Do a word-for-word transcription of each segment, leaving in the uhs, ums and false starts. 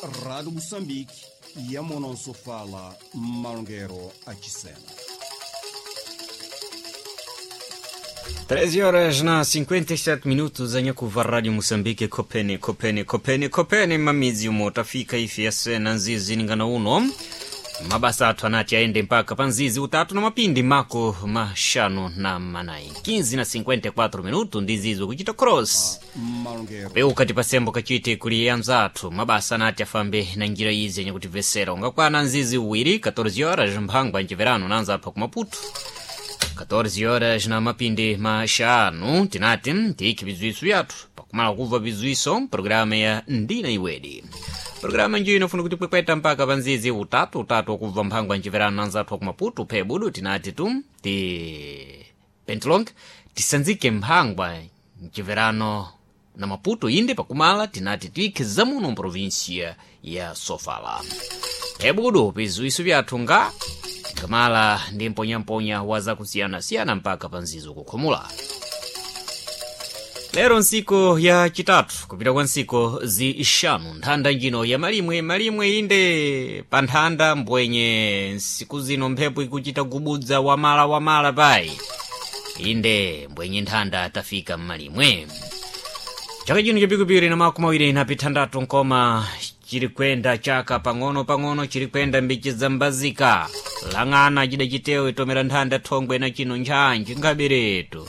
Rádio Moçambique, Yamonosofala, Malongueiro, Achisena. treze horas na cinquenta e sete minutos, anyakuva Rádio Moçambique, kopeni kopeni kopeni kopeni mamizi umo tafika ifi yasena nzizi ningana uno mabasa athu anati aende mpaka pa nzizi utatu na mapindi mako maxanu na manayi, quinze na cinquenta e quatro minuto, ndi zizo kuchita cross Malongueiro, peuka tipasembo kachite kuli anzathu mabasa anati afambe na njira izi yanyakutivesera ungakwana nzizi uwiri, catorze horas, mphangwa mciverano na anzathu aku Maputo. catorze horas na mapindi maxanu tinati tiyikhe bziwiso byathu pakumala kuva bziwiso programa ya Ndina Iwedi, programa njiyo inofuna kuti kwekweta mpaka pa nzizi utatu utatu wakubva mphangwa mciverano na anzathu aku Maputo. Phe budu tinati tu ti pentilong tisanzike mphangwa mciverano na Maputo, inde pakumala tinati tiyikhe zamuno mprovinsia ya Sofala. Phebudu bziwiso byathu nga ngamala ndi mponyamponya wa zakusiyana-siyana mpaka pa nzizo kukhumula. Lero nsiku ya chitatu, kupita kwa nsiku zixanu nthanda njino ya malimwe malimwe, inde pa nthanda mbwenye nsiku zino mphepo ikuchita gubudza wamala wamala payi, inde mbwenye nthanda tafika mmalimwe. Chaka chino chapikupiri na makumi awiri na pithandatu nkoma chiri kwenda chaka pang'ono pang'ono chiri kwenda mbichi zambazika lang'ana chida chitewo itomera nthanda thongwe na chino ntchantchi nkhabiretu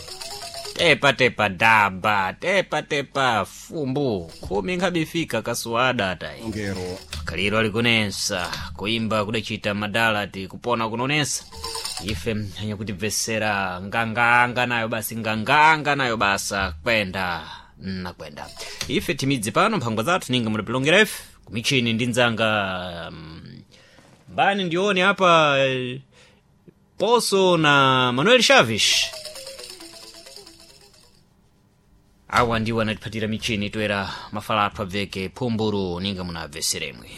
tepa tepa daba tepa tepa fumbu khumi nkhabifika kasuwada tayi. Malongueiro, Kaliro alikunensa kuimba kudachita madala ti kupona kunonesa ife anyakutibvesera nganganga nayo basi nganganga nayo basa kwenda na kwenda ife timidzi pano mphangwa zathu ninga mudapilongera ife kumichini ndi ndzanga mm, mbani ndione apa, eh, Poso na Manuel Chaves, awa ndiwo anatiphatira michini toera mafala athu abveke phumburu ninga munabveseremwe.